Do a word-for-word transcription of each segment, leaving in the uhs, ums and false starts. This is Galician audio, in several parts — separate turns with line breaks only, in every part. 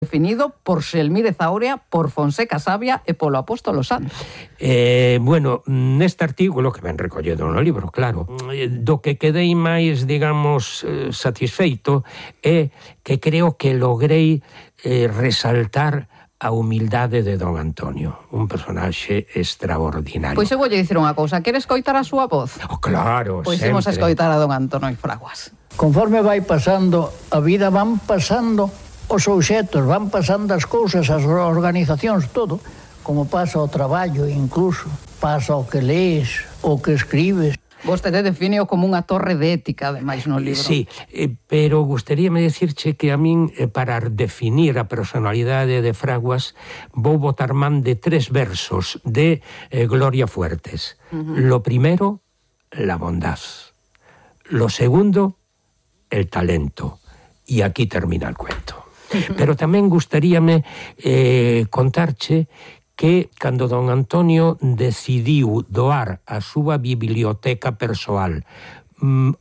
definido por Xelmírez Aurea, por Fonseca Sabia e polo Apóstolo Santo.
Eh, bueno, neste artículo, que ben recolledo no libro, claro, do que quedei máis, digamos, satisfeito é que creo que logrei eh, resaltar a humildade de don Antonio, un personaxe extraordinario.
Pois eu vou lle dicir unha cousa, queres escoitar a súa voz?
Oh, claro,
pois
sempre.
Pois imos a escoitar a don Antonio Fraguas.
Conforme vai pasando a vida, van pasando os obxetos, van pasando as cousas, as organizacións, todo, como pasa o traballo incluso, pasa o que lees, o que escribes.
Vostede define como unha torre de ética, ademais, no libro.
Sí, eh, pero gustaríame decirche que a min, eh, para definir a personalidade de Fraguas, vou botar man de tres versos de eh, Gloria Fuertes. Uh-huh. Lo primero, la bondad. Lo segundo, el talento. Y aquí termina el cuento. Pero tamén gustaríame eh, contarche que cando don Antonio decidiu doar a súa biblioteca persoal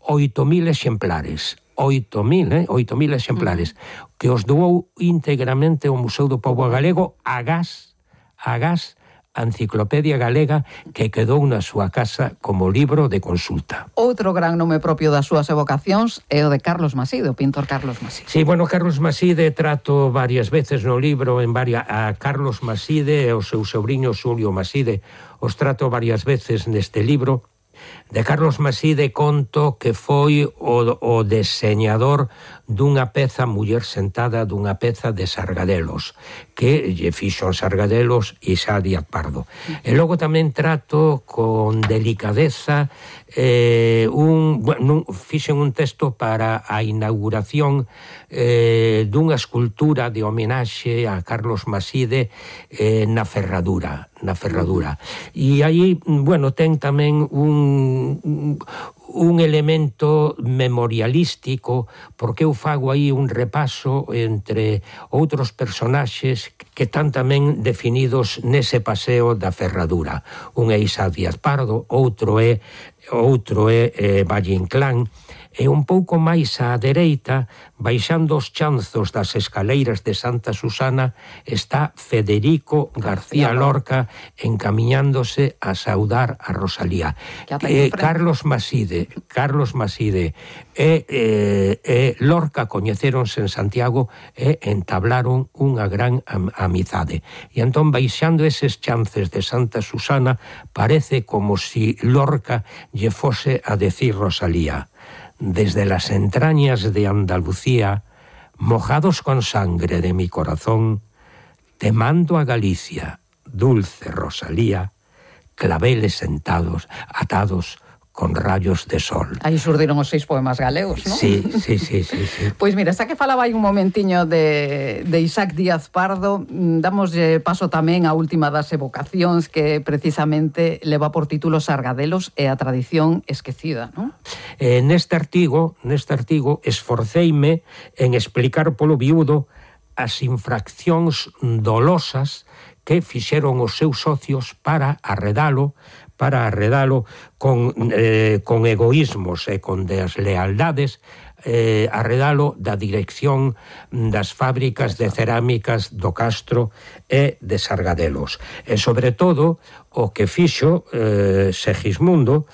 oito mil exemplares, oito mil, eh, oito mil exemplares, uh-huh. que os doou íntegramente ao Museo do Pobo Galego agás, agás a Enciclopedia Galega, que quedou na súa casa como libro de consulta.
Outro gran nome propio das súas evocacións é o de Carlos Maside, o pintor Carlos Maside.
Sí, bueno, Carlos Maside trato varias veces no libro en varias, a Carlos Maside e o seu sobrinho Xulio Maside, os trato varias veces neste libro. De Carlos Maside conto que foi o, o deseñador dunha peza Muller sentada, dunha peza de Sargadelos, que lle fixo Sargadelos Isaac Díaz Pardo. E logo tamén trato con delicadeza eh, un, bueno, fixen un texto para a inauguración eh, dunha escultura de homenaxe a Carlos Maside eh, na Ferradura, na Ferradura. E aí, bueno, ten tamén un, un elemento memorialístico, porque eu fago aí un repaso entre outros personaxes que están tamén definidos nese paseo da Ferradura. Un é Isaac Díaz Pardo, outro é outro é eh, Valle Inclán, e un pouco máis á dereita, baixando os chanzos das escaleiras de Santa Susana, está Federico García Lorca encamiñándose a saudar a Rosalía. Eh, Carlos Maside, Carlos Maside e, eh, e Lorca coñecéronse en Santiago e entablaron unha gran am amizade. E entón, baixando eses chances de Santa Susana, parece como si Lorca lle fose a decir Rosalía: desde las entrañas de Andalucía, mojados con sangre de mi corazón, te mando a Galicia, dulce Rosalía, claveles sentados, atados con rayos de sol.
Aí surdiron os seis poemas galegos, non?
Sí, sí, sí, sí, sí.
Pois mira, xa que falaba aí un momentiño de, de Isaac Díaz Pardo, damos paso tamén á última das evocacións, que precisamente leva por título Sargadelos e a tradición esquecida, non?
Eh, neste artigo, neste artigo, esforceime en explicar polo viudo as infraccións dolosas que fixeron os seus socios para arredalo, para arredalo con, eh, con egoísmos e con deslealdades, eh, arredalo da dirección das fábricas de cerámicas do Castro e de Sargadelos. E, sobre todo, o que fixo eh, Segismundo,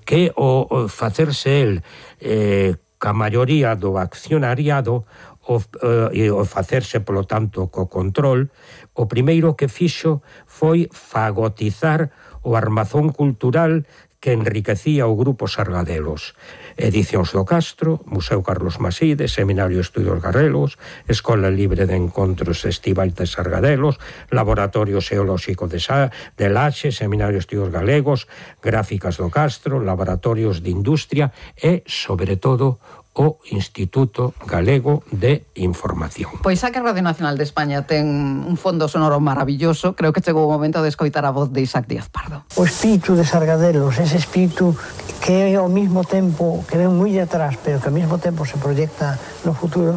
que o, o facerse el eh, ca maioría do accionariado, o, eh, o facerse, polo tanto, co control, o primeiro que fixo foi fagotizar o armazón cultural que enriquecía o grupo Sargadelos. Edicións do Castro, Museo Carlos Maside, Seminario de Estudios Galegos, Escola Libre de Encontros Estival de Sargadelos, Laboratorio Xeolóxico de, Sa de Laxe, Seminario de Estudios Galegos, Gráficas do Castro, Laboratorios de Industria e, sobre todo, o Instituto Galego de Información.
Pois xa que a Radio Nacional de España ten un fondo sonoro maravilloso, creo que chegou o momento de escoitar a voz de Isaac Díaz Pardo.
O espírito de Sargadelos, ese espírito que é ao mesmo tempo, que ven moi atrás, pero que ao mesmo tempo se proyecta no futuro,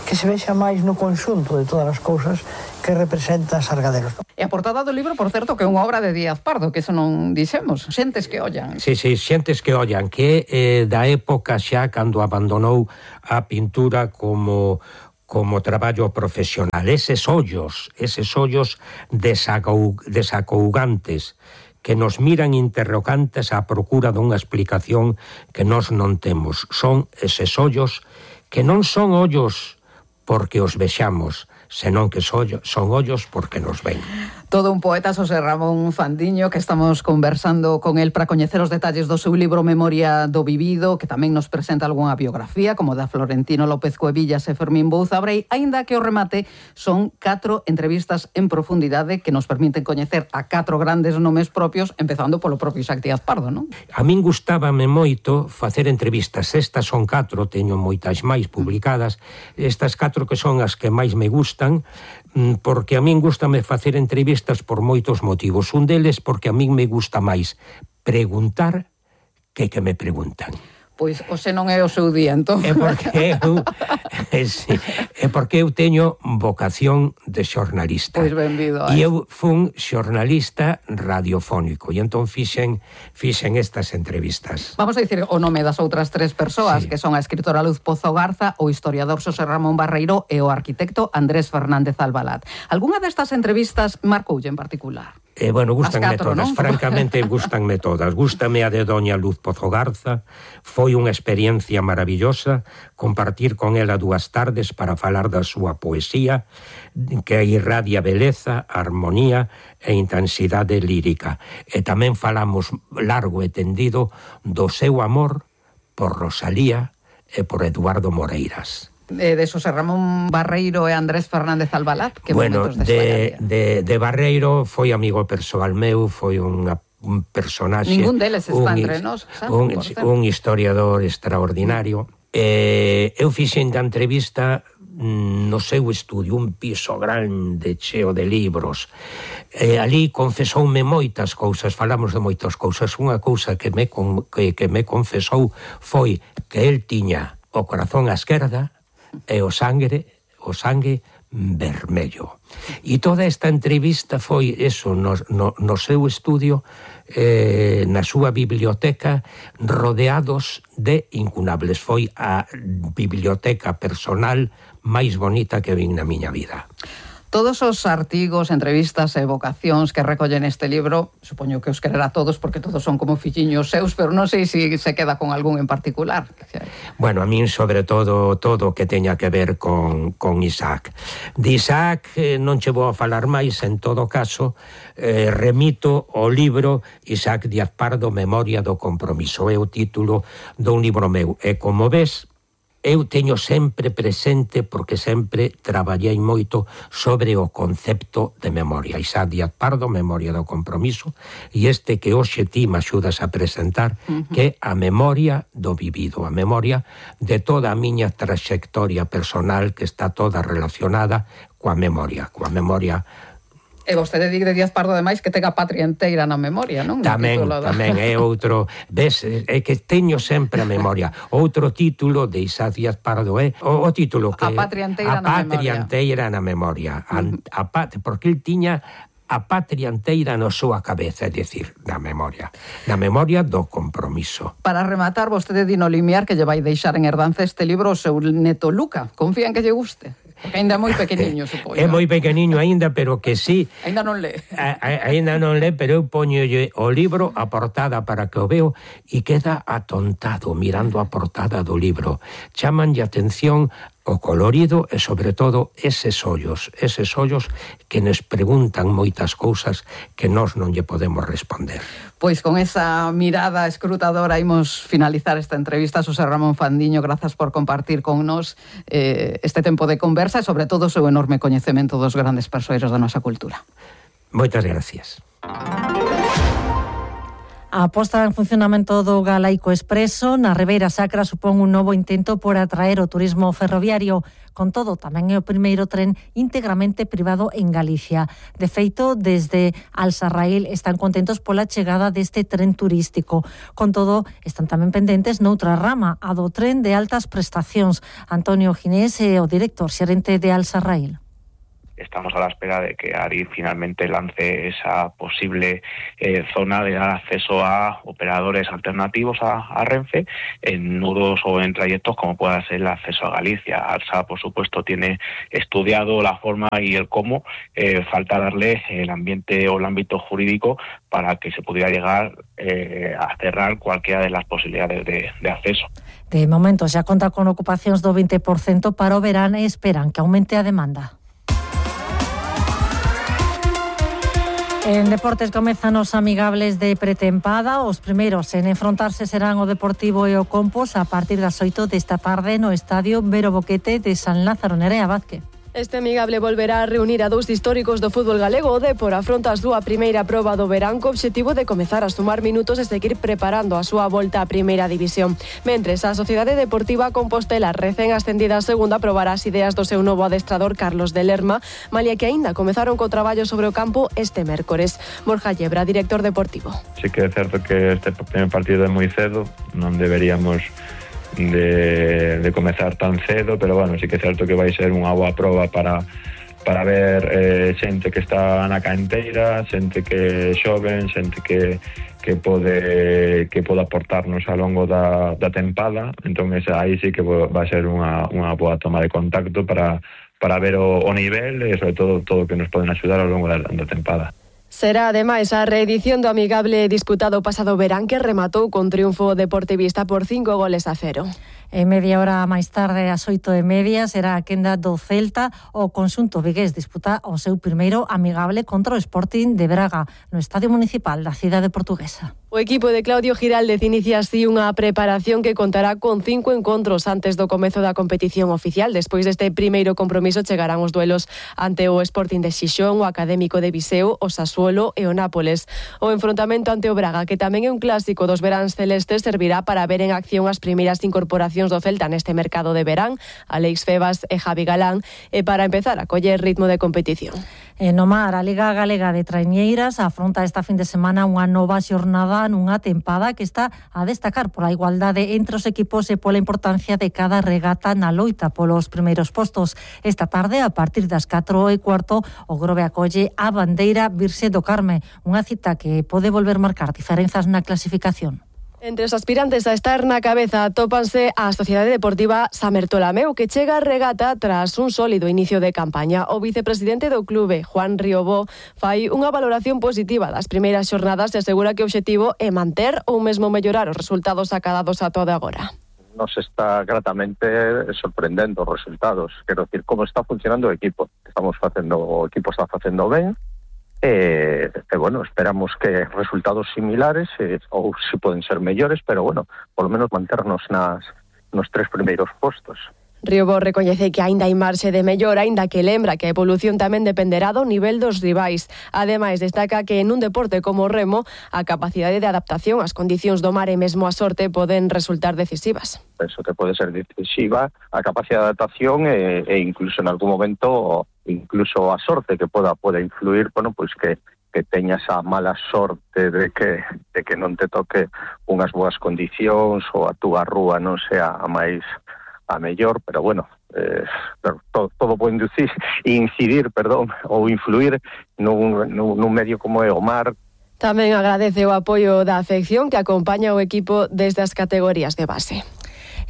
que se vexa máis no conxunto de todas as cousas que representa Sargadelos.
E a portada do libro, por certo, que é unha obra de Díaz Pardo, que eso non dixemos, Xentes que ollan.
Sí, sí, Xentes que ollan, que é eh, da época xa cando abandonou a pintura como como traballo profesional. Eses ollos, eses ollos desacou, desacougantes, que nos miran interrogantes á procura dunha explicación que nós non temos. Son eses ollos que non son ollos porque os vexamos, senón que son ollos porque nos ven.
Todo un poeta, Xosé Ramón Fandiño, que estamos conversando con él para coñecer os detalles do seu libro Memoria do Vivido, que tamén nos presenta algunha biografía, como da Florentino López Cuevillas e Fermín Bouza Brei, aínda que o remate son catro entrevistas en profundidade que nos permiten coñecer a catro grandes nomes propios, empezando polo propio Isaac Díaz Pardo, non?
A min gustábame moito facer entrevistas. Estas son catro, teño moitas máis publicadas. Estas catro que son as que máis me gustan, porque a min gustame facer entrevistas por moitos motivos. Un deles porque a min me gusta máis preguntar que que me preguntan.
Pois hoxe non é o seu día, entón.
É porque eu, é, sí, é porque eu teño vocación de xornalista.
Pois benvido.
E eu fun xornalista radiofónico, e entón fixen, fixen estas entrevistas.
Vamos a dicir o nome das outras tres persoas,
sí,
que son a escritora Luz Pozo Garza, o historiador Xosé Ramón Barreiro e o arquitecto Andrés Fernández Albalat. Algúnha destas entrevistas marcoulle en particular?
Eh, bueno, gustanme
catro,
todas,
¿no?
francamente gustanme todas. Gústame a de doña Luz Pozo Garza. Foi unha experiencia maravillosa compartir con ela dúas tardes para falar da súa poesía, que irradia beleza, armonía e intensidade lírica. E tamén falamos largo e tendido do seu amor por Rosalía e por Eduardo Moreiras.
Eh, de Xosé Ramón Barreiro e Andrés Fernández Albalat, que
bueno,
momentos
de, de, de Barreiro foi amigo persoal meu, foi unha un personaxe...
Ningún deles está
un,
entre nós, sabe?
Un, un historiador extraordinario. Eh, eu fixen da entrevista no seu estudio, un piso grande, cheo de libros. E ali confesoume moitas cousas, falamos de moitas cousas. Unha cousa que me, que, que me confesou foi que el tiña o corazón á esquerda e o sangue, o sangue vermello. E toda esta entrevista foi eso, no, no, no seu estudio, eh, na súa biblioteca, rodeados de incunables. Foi a biblioteca personal máis bonita que vin na miña vida.
Todos os artigos, entrevistas e vocacións que recollen este libro, supoño que os quererá todos porque todos son como filliños seus, pero non sei se se queda con algún en particular.
Bueno, a min sobre todo todo que teña que ver con, con Isaac. De Isaac eh, non che vou a falar máis, en todo caso eh, remito o libro Isaac Díaz Pardo, Memoria do Compromiso. É o título dun libro meu. E como ves, eu teño sempre presente, porque sempre traballei moito sobre o concepto de memoria. Isaac Díaz Pardo, Memoria do Compromiso, e este que hoxe ti me axudas a presentar, uh-huh. que é a memoria do vivido, a memoria de toda a miña traxectoria personal, que está toda relacionada coa memoria, coa memoria.
E vostede di de Díaz Pardo, ademais, que ten a patria enteira na memoria, non?
Tamén, tamén é outro... Ves, é que teño sempre a memoria. Outro título de Isaac Díaz Pardo é o, o título que...
A patria enteira na memoria.
A patria enteira na memoria. Uh-huh. A, a, porque el tiña a patria enteira na súa cabeza, é dicir, na memoria. Na memoria do compromiso.
Para rematar, vostede di no limiar que lle vai deixar en herdanza este libro o seu neto Luca. Confía en que lle guste? Porque ainda é moi pequeniño, supoño.
É moi pequeniño ainda, pero que sí.
Ainda non lé.
Ainda non lé, pero eu poñolle o libro a portada para que o veo e queda atontado mirando a portada do libro. Chamanlle atención o colorido e, sobre todo, eses ollos, eses ollos que nos preguntan moitas cousas que nós non lle podemos responder.
Pois con esa mirada escrutadora imos finalizar esta entrevista. Xosé Ramón Fandiño, grazas por compartir con nos eh, este tempo de conversa e, sobre todo, o seu enorme coñecemento dos grandes persoeiros da nosa cultura.
Moitas gracias.
A posta en funcionamento do Galaico Expreso na Ribeira Sacra supón un novo intento por atraer o turismo ferroviario. Con todo, tamén é o primeiro tren íntegramente privado en Galicia. De feito, desde Alsarraíl están contentos pola chegada deste tren turístico. Con todo, están tamén pendentes noutra rama, a do tren de altas prestacións. Antonio Ginés é o director xerente de Alsarraíl.
estamos a la espera de que Adif finalmente lance esa posible eh, zona de dar acceso a operadores alternativos a, a Renfe en nudos o en trayectos como pueda ser el acceso a Galicia. ARSA, por supuesto, tiene estudiado la forma y el cómo, eh, falta darle el ambiente o el ámbito jurídico para que se pudiera llegar eh, a cerrar cualquiera de las posibilidades de, de acceso.
De momento xa conta con ocupacións do veinte por cento para o verán e esperan que aumente a demanda. En deportes comezan os amigables de pretempada. Os primeiros en enfrontarse serán o Deportivo e o Compos a partir das oito desta tarde no Estadio Vero Boquete de San Lázaro. Nerea Vázquez.
Este amigable volverá a reunir a dous históricos do fútbol galego. O Depor afronta a súa primeira proba do verán co obxectivo de comezar a sumar minutos e seguir preparando a súa volta á primeira división. Mentres, a Sociedade Deportiva Compostela, recén ascendida a segunda, probará as ideas do seu novo adestrador Carlos de Lerma, malia que aínda comezaron co traballo sobre o campo este mércores. Borja Llebra, director deportivo.
Sí que é certo que este primer partido é moi cedo, non deberíamos de, de comezar tan cedo, pero bueno, sí que é certo que vai ser unha boa proba para para ver eh, xente que está na canteira, xente que é xoven, xente que que pode que pode aportarnos ao longo da, da tempada. Entón esa, aí sí que vai ser unha, unha boa toma de contacto para, para ver o, o nivel e sobre todo todo o que nos poden axudar ao longo da, da tempada.
Será ademais a reedición do amigable disputado pasado verán que rematou con triunfo deportivista por cinco goles a cero.
E media hora máis tarde, ás oito e media, será a quenda do Celta. O conxunto vigués disputa o seu primeiro amigable contra o Sporting de Braga no Estadio Municipal da cidade portuguesa.
O equipo de Claudio Giraldez inicia así unha preparación que contará con cinco encontros antes do comezo da competición oficial. Despois deste primeiro compromiso chegarán os duelos ante o Sporting de Xixón, o Académico de Viseu, o Sassuolo e o Nápoles. O enfrontamento ante o Braga, que tamén é un clásico dos veráns celestes, servirá para ver en acción as primeiras incorporacións do Celta neste mercado de verán, Alex Febas e Javi Galán, e para empezar a coller ritmo de competición.
En o mar, a Liga Galega de Traiñeiras afronta esta fin de semana unha nova xornada nunha tempada que está a destacar pola igualdade entre os equipos e pola importancia de cada regata na loita polos primeiros postos. Esta tarde, a partir das catro e cuarto, o Grove acolle a bandeira Virxe do Carme, unha cita que pode volver marcar diferenzas na clasificación.
Entre os aspirantes a estar na cabeza atópanse a Sociedade Deportiva Samertolameu, que chega a regata tras un sólido inicio de campaña. O vicepresidente do clube, Juan Riobó, fai unha valoración positiva das primeiras xornadas e asegura que o obxectivo é manter ou mesmo mellorar os resultados acadados a todo agora.
Nos está gratamente sorprendendo os resultados. Quero decir, como está funcionando o equipo. Estamos facendo, o equipo está facendo ben. E, e bueno, esperamos que resultados similares e, ou se poden ser mellores, pero bueno, por lo menos manternos nas, nos tres primeiros postos.
Riobó recoñece que aínda hai marxe de mellora, aínda que lembra que a evolución tamén dependerá do nivel dos rivais. Ademais, destaca que en un deporte como o remo, a capacidade de adaptación ás condicións do mar e mesmo a sorte poden resultar decisivas.
Penso que pode ser decisiva a capacidade de adaptación e, e incluso en algún momento incluso a sorte que poda poda influir, bueno, pois que que teñas a mala sorte de que de que non te toque unhas boas condicións ou a túa rúa non sea a máis a mellor, pero bueno, eh, todo, todo pode inducir, incidir, perdón, ou influir nun, nun, nun medio como é o mar.
Tamén agradece o apoio da afección que acompaña o equipo desde as categorías de base.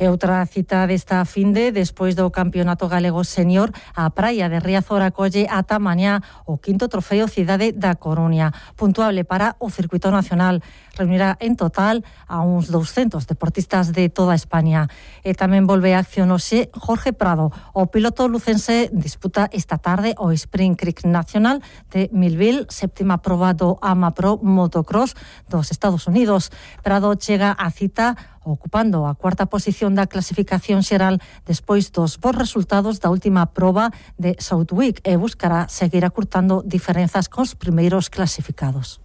E outra cita desta finde, despois do Campeonato Galego Senior, a praia de Riazor acolle ata mañá o quinto trofeo Cidade da Coruña, puntuable para o circuito nacional. Reunirá en total a uns douscentos deportistas de toda España. E tamén volve a acción hoxe Jorge Prado. O piloto lucense disputa esta tarde o Spring Creek Nacional de Millville, séptima proba do AMAPRO Motocross dos Estados Unidos. Prado chega a cita ocupando a cuarta posición da clasificación xeral despois dos bons resultados da última proba de Southwick e buscará seguir acurtando diferenzas cos primeiros clasificados.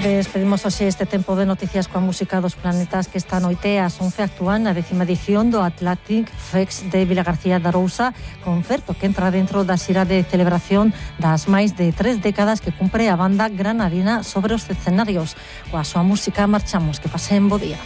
Despedimos hoxe este tempo de noticias coa música dos planetas que esta noite ás once actúan na décima edición do Atlantic Fest de Vilagarcía da Arousa, concerto que entra dentro da xira de celebración das máis de tres décadas que cumpre a banda granadina sobre os escenarios. Coa súa música marchamos, que pasen bo día.